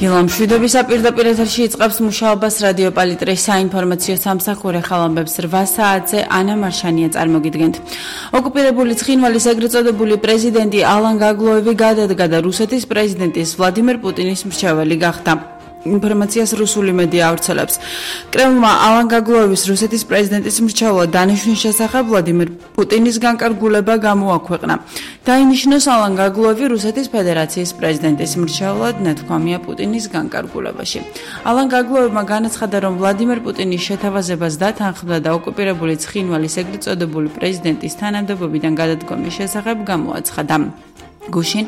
გილამშვიდობის პირდაპირ ეთერში იწყებს მუშაობას რადიო პალიტრის საინფორმაციო სამსახური ხალხამბებს 8 საათზე ანა მარშანია წარმოგიდგენთ. ოკუპირებული ცხინვალის ეგრეთ წოდებული პრეზიდენტი ალან გაგლოევი გადადგა და რუსეთის პრეზიდენტის ვლადიმერ პუტინის მრჩეველი გახდა. ინფორმაციას რუსული მედია ავრცელებს. კრემლმა ალან გაგლოევის რუსეთის პრეზიდენტის მრჩევლად დანიშვნის შესახებ ვლადიმერ პუტინის განკარგულება გამოაქვეყნა. დაინიშნოს ალან გაგლოევი რუსეთის ფედერაციის პრეზიდენტის მრჩევლად ნათქვამია პუტინის განკარგულებაში. ალან გაგლოევმა განაცხადა, რომ ვლადიმერ პუტინის შეთავაზებას დათანხმდა და ოკუპირებული ცხინვალის ეგრეთ წოდებული პრეზიდენტის თანამდებობიდან გადადგომის შესახებ გამოაცხადა. გუშინ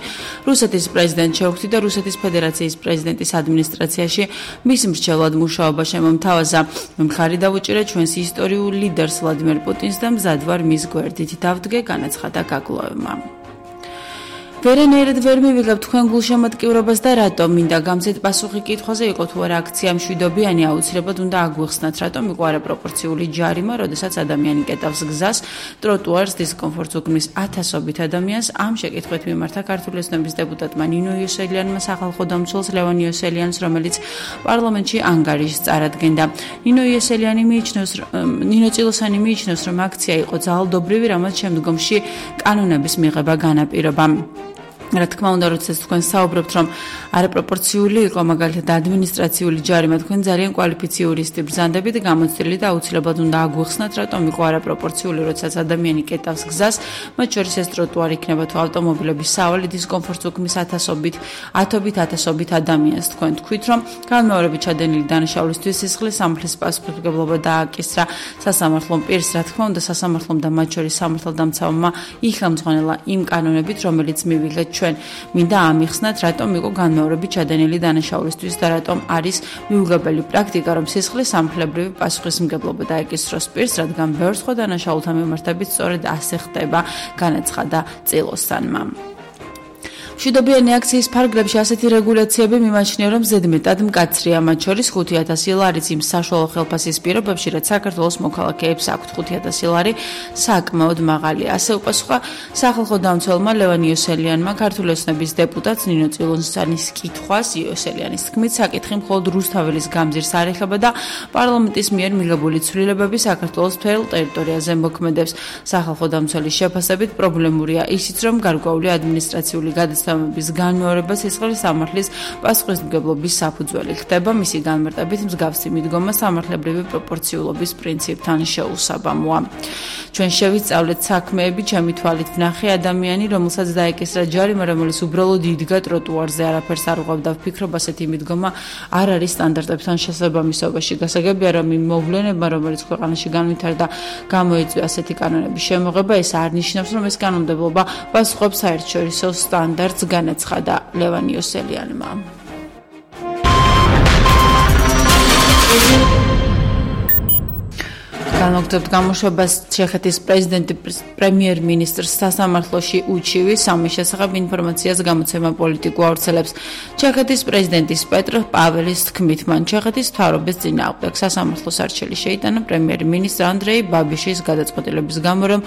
რუსეთის პრეზიდენტ შეუქმნიდა რუსეთის ფედერაციის პრეზიდენტის ადმინისტრაციაში მის მრჩევლად მუშაობა შემომთავაზა. მხარი დავუჭირე ჩვენს ისტორიულ ლიდერს ვლადიმერ პუტინს და მზად ვარ მის გვერდით დავდგე, განაცხადა გაგლოევმა. ვერანაირად ვერ მივიღებ თქვენ გულშემატკივრობას და რატომ მინდა გამზეთ პასუხი კითხვაზე იყო თუ არა აქცია მშვიდობიანი აუცილებლად უნდა აგვიხსნათ რატომ იყო არაპროპორციული ჯარიმა როდესაც ადამიანი კეტავს გზას ტროტუარს დისკომფორტს უქმნის ათასობით ადამიანს ამ შეკითხვით მიმართა ქართული ოცნების დეპუტატმა ნინო იოსელიანმა სახალხო დამცველს ლევან იოსელიანს რომელიც პარლამენტში ანგარიშს წარადგენდა. ნინო წილოსანი მიიჩნევს რომ აქცია იყო ძალადობრივი რამაც შემდგომში კანონების მიღება განაპირობა. რა თქმა უნდა, როდესაც თქვენ საუბრობთ, რომ არაპროპორციული იყო მაგალითად ადმინისტრაციული ჯარიმა, თქვენ ძალიან კვალიფიციური ისეთი ბრძანდებით გამოცდილი და აუცილებლად უნდა აგვიხსნათ, რატომ იყო არაპროპორციული, როდესაც ადამიანი კეტავს გზას, მათ შორის ეს ტროტუარი იქნება თუ ავტომობილების სავალი დისკომფორტს უქმნის ათობით ადამიანს. თქვენ თქვით, რომ განმეორებით ჩადენილი დანაშაულისთვის სისხლის სამართლის პასუხისმგებლობა დააკისრა სასამართლომ პირს, რა თქმა უნდა, სასამართლომ და მათ შორის სამართალდამცავმა იხელმძღვანელა იმ კანონებით, რომელიც მივიღეთ მინდა ამიხსნათ, რატომ იყო განმეორებით ჩადენილი დანაშაულისთვის და რატომ არის მიუღებელი პრაქტიკა, რომ სისხლის სამართლებრივი პასუხისმგებლობა დაეკისროს პირს, რადგან ბევრ სხვა დანაშაულთან მიმართებით სწორედ ასე ხდება, განაცხადა წილოსანმა. მშვიდობიანი აქციის ფარგლებში ასეთი რეგულაციები მიმაჩნია, რომ ზედმეტად მკაცრია, მათ შორის 5,000 ლარიც იმ საშუალო ხელფასის პირობებში, რაც საქართველოს მოქალაქეებს აქვთ 5,000 ლარი საკმაოდ მაღალია. ასე უპასუხა სახალხო დამცველმა ლევან იოსელიანმა ქართული ოცნების დეპუტატს ნინო წილოსანის კითხვას. იოსელიანის თქმით, საკითხი მხოლოდ რუსთაველის გამზირს არ ეხება და პარლამენტის მიერ მიღებული ცვლილებები საქართველოს მთელ ტერიტორიაზე მოქმედებს. სახალხო დამცველის შეფასებით პრობლემურია ისიც, რომ გარკვეული ადმინისტრაციული გადაცემების განმეორება სისხლის სამართლის პასუხისმგებლობის საფუძველი ხდება. მისი განმარტებით მსგავსი მიდგომა სამართლებრივი პროპორციულობის პრინციპთან შეუსაბამოა. ჩვენ შევისწავლეთ საქმეები, ჩემი თვალით ვნახე ადამიანი, რომელსაც დაეკისრა ჯარიმა, რომელიც უბრალოდ იდგა ტროტუარზე, არაფერს არ უყვებდა. ვფიქრობ, ასეთი მიდგომა არ არის სტანდარტებთან შესაბამისობაში. გასაგებია, რომ იმ მოვლენებმა, რომელიც ქვეყანაში განვითარდა, გამოიწვია ასეთი კანონების შემოღება, ეს არ ნიშნავს, რომ ეს კანონმდებლობა პასუხობს საერთაშორისო სტანდარტს, განაცხადა ლევან იოსელიანმა. განაგრძობთ გამოშვებას ჩეხეთის პრეზიდენტი პრემიერ-მინისტრს სასამართლოში უჩივის სამის შესახებ ინფორმაციას გამოცემა პოლიტიკუ ავრცელებს. ჩეხეთის პრეზიდენტის პეტრ პაველის თქმით, მან ჩეხეთის მთავრობის წინააღმდეგ სასამართლოს არჩევი შეიტანა პრემიერ-მინისტრ ანდრეი ბაბიშის გადაწყვეტილების გამო, რომ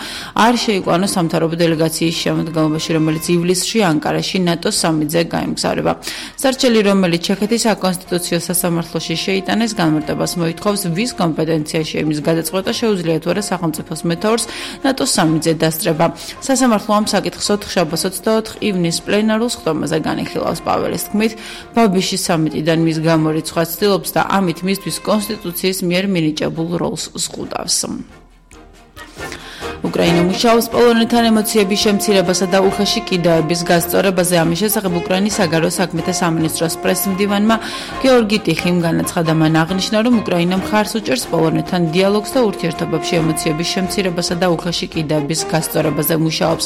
არ შეიყვანოს სამთავრობო დელეგაციის შემოდგომაში, რომელიც ივლისში ანკარაში ნატოს სამიტზე გაემგზავრება. სარჩელი, რომელიც ჩეხეთის საკონსტიტუციო სასამართლოში შეიტანეს, განმარტებას მოითხოვს, ვის კომპეტენციაში იმის გადაწყვეტილება შეუძლია თუ არა სახელმწიფოს მეთაურს ნატოს სამიტზე დასწრება. სასამართლო ამ საკითხს 4 შაბათს 24 ივნის პლენარულ სხდომაზე განიხილავს. პაველის თქმით, ბაბიშის სამიტიდან მის გამორიცხვას ცდილობს და ამით მისთვის კონსტიტუციის მიერ მინიჭებულ როლს ზღუდავს. უკრაინა მუშაობს პოლონეთთან ემოციების შემცირებასა და უხეში კიდეების გასწორებაზე. ამის შესახებ უკრაინის საგარეო საქმეთა სამინისტროს პრესმდივანმა გეორგი ტიხიმ განაცხადა. მან აღნიშნა, რომ უკრაინა მხარს უჭერს პოლონეთთან დიალოგს და ურთიერთობებში ემოციების შემცირებასა და უხეში კიდეების გასწორებაზე მუშაობს.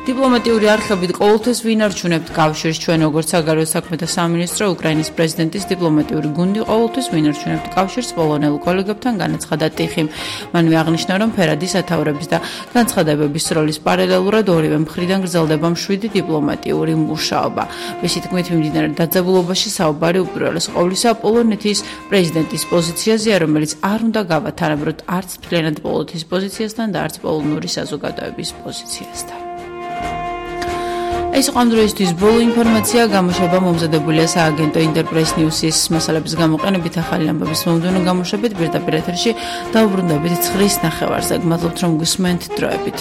დიპლომატიური არხებით ყოველთვის ვინარჩუნებთ კავშირს. ჩვენ როგორც საგარეო საქმეთა სამინისტრო, უკრაინის პრეზიდენტის დიპლომატიური გუნდი ყოველთვის ვინარჩუნებთ კავშირს პოლონელ კოლეგებთან, განაცხადა ტიხიმ. მანვე აღნიშნა, რომ ფერადი სათაურების და განცხადებების როლის პარალელურად ორივე მხრიდან გრძელდება მშვიდი დიპლომატიური მუშაობა. მისი თქმით, მიმდინარე დაძაბულობაში საუბარი უპირველეს ყოვლისა პოლონეთის პრეზიდენტის პოზიციაზეა, რომელიც არ უნდა გავათანაბროთ არც მთლიანად პოლონეთის პოზიციასთან და არც პოლონური საზოგადოების პოზიციასთან. ეს იყო ამ დროისთვის ბოლო ინფორმაცია, გამოშვება მომზადებულია სააგენტო ინტერპრეს ნიუსის მასალების გამოყენებით, ახალი ამბების მომდევნო გამოშვებით, პირდაპირ ეთერში დაუბრუნდებით 9:09. გმადლობთ რომ გусმენთ დროებით.